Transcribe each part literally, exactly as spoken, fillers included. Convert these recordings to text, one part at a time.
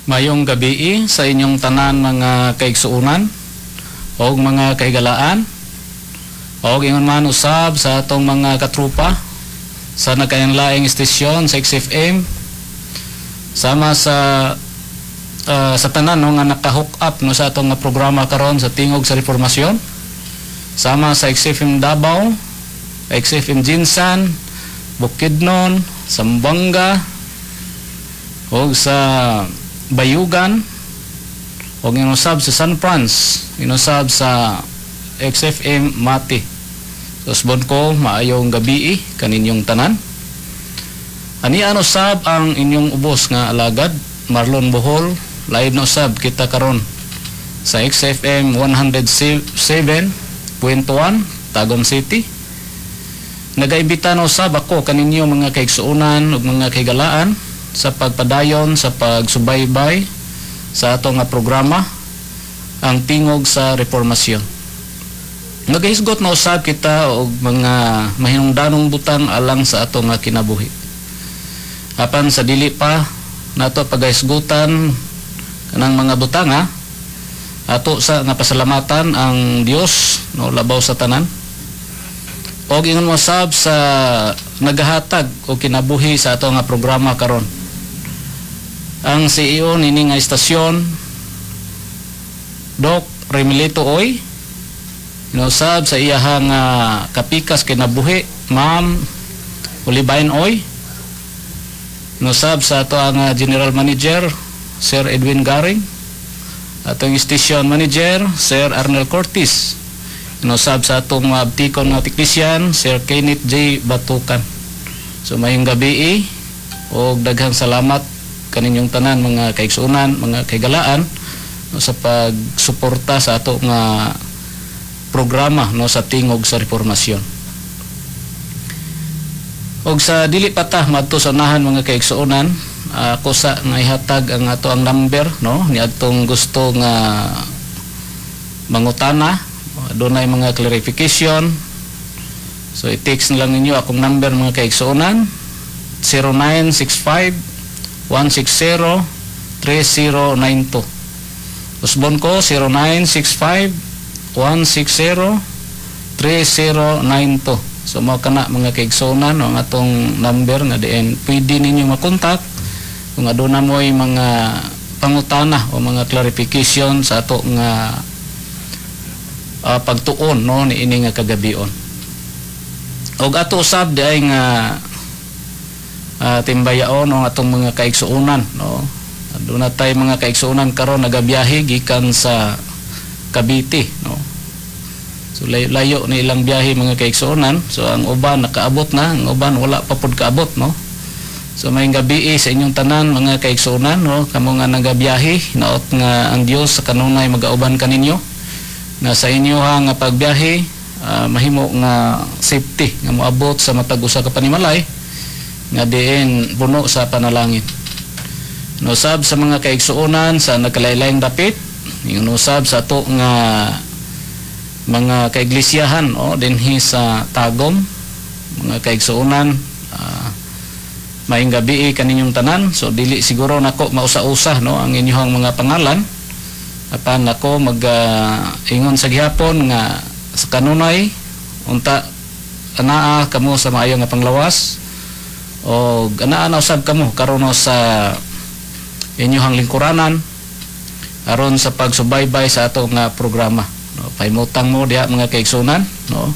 Mayong gabii sa inyong tanan, mga kaigsuunan o mga kahigalaan, o ingon man usab sa atong mga katrupa sa nagkalainlaing istasyon sa X F M, sama sa ah, sa tanan, no, nga naka-hook up, no, sa atong nga programa karon sa Tingog sa Reformasyon, sama sa X F M Davao, X F M GenSan, Bukidnon, Zamboanga o sa Bayugan o inusab sa San Franz, inusab sa X F M Mati. Usbon ko, maayong gabii kaninyong tanan. Ani ano sab ang inyong ubos nga alagad, Marlon Bohol. Live na usab kita karon sa X F M one oh seven point one Tagum City. Nagaimbita na usab ako kaninyo, mga kaigsuonan ug mga kahigalaan, sa pagpadayon sa pagsubaybay sa ato nga programa, ang Tingog sa Reformasyon. Nagahisgot na usab kita og mga mahinungdanong butang alang sa ato nga kinabuhi. Apan sa dili pa nato pagahisgutan kanang mga butang, ha, ato sa nga pasalamatan ang Dios, no, labaw sa tanan. Og ingon mo sab sa nagahatag og kinabuhi sa ato nga programa karon, ang C E O nini nga istasyon, Doc Remilito Oy, inusab sa iyahang uh, kapikas kinabuhi, Ma'am Olivain Oy, inusab sa ato ang ah, General Manager, Sir Edwin Garing, atong Station Manager, Sir Arnel Cortez, inusab sa atong mga abtikon nga teknisyan, Sir Kenneth J. Batukan. So mayong gabi og daghang salamat kaninyong tanan, mga kaigsuonan, mga kahigalaan, no, sa pagsuporta sa ato nga programa, no, sa Tingog sa Reformasyon. Og sa dili pa ta madto sa unahan, mga kaigsuonan, ako sa nga ihatag ang ato ang number, no, ni adtong gusto nga mangutana, dunay mga clarification. So i-text na lang ninyo akong number, mga kaigsuonan, zero nine six five, one six zero three zero nine two. Usbon ko, zero nine six five one six zero three zero nine two. So mao kana, mga kaigsuonan, no, ang atong number nga diin pwede ninyo makontak kung aduna mo'y mga pangutana o mga clarification sa ato nga ah, pagtuon, no, ni ini nga kagabion. Og ato usab di ay nga uh, timbayaon ang atong mga kaigsuonan, no. Aduna tay mga kaigsuonan karon nagabiyahe gikan sa Cavite, no. So layo, layo ni ilang biyahe, mga kaigsuonan. So ang uban nakaabot na, ang uban wala pa pud kaabot, no. So mayong gabi sa inyong tanan, mga kaigsuonan, no, kamo nga nagabiyahe, naot nga ang Dios sa kanunay magauban kaninyo. Na sa inyo ha nga pagbiyahe, ah, mahimo nga safety nga moabot sa matag usa ka panimalay nga diin puno sa panalangin. Nosab sa mga kaigsuonan sa nagkalain-laing dapit, ingon usab sa ato nga mga kaiglesiyahan, oh, dinhi sa Tagum, mga kaigsuonan, ah, maayong gabi kaninyong tanan. So dili siguro nako mausa-usa, no, ang inyong mga pangalan. Apan ako mag ah, ingon sa gihapon nga sa kanunay unta anaa kamo sa maayo nga panglawas o anaa na usab kamo karon sa inyong lingkuranan aron sa pagsubaybay sa ato nga programa, no. Pahimutang mo diha, mga kaigsuonan, no.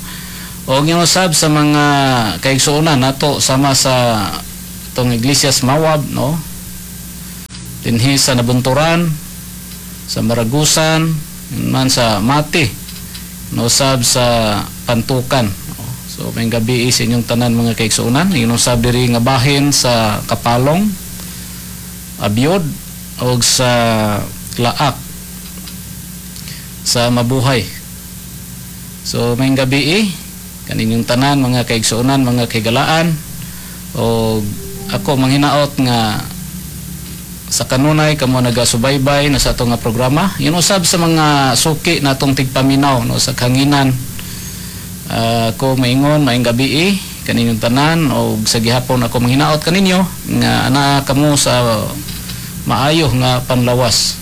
O usab sa mga kaigsuonan nato sama sa atong Iglesia sa Mawab, no, dinhi sa Nabunturan, sa Maragusan man, sa Mati, no, usab sa Pantukan. So may gabi sa inyong tanan, mga kaigsuonan. Ingon usab diri nga bahin sa Kapalong, Abiod og sa Laak sa Mabuhay. So may gabi kaninyong tanan, mga kaigsuonan, mga kahigalaan, og ako manghinaot nga sa kanunay kamo nagasubaybay na sa ato nga programa. Yun usab sa mga suki natong tigpaminaw, no, sa kanginan. Uh, ako maingon, maayong gabi kaninyong tanan, og sa gihapon ako manghinaot kaninyo nga anaa kamo sa Maayo nga panlawas.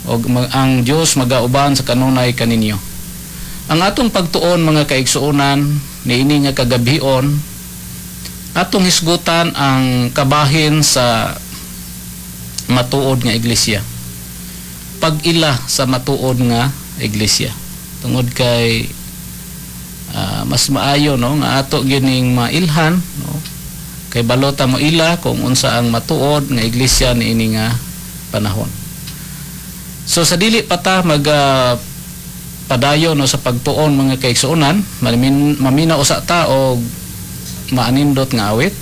Og ma- ang Dios magauban sa kanunay kaninyo. Ang atong pagtuon, mga kaigsuonan, niini nga kagabhion, atong hisgutan ang kabahin sa matuod nga iglesia. Pag-ila sa matuod nga iglesia. Tungod kay ah, mas maayo, no, nga ato gining mailhan, no, kay balota mo ila kung unsa ang matuod nga iglesia niini nga panahon. So sa dili pa ta mag ah, padayon, no, sa pagtuon, mga kaigsuonan, mamin, mamina usa ta og maanindot nga awit.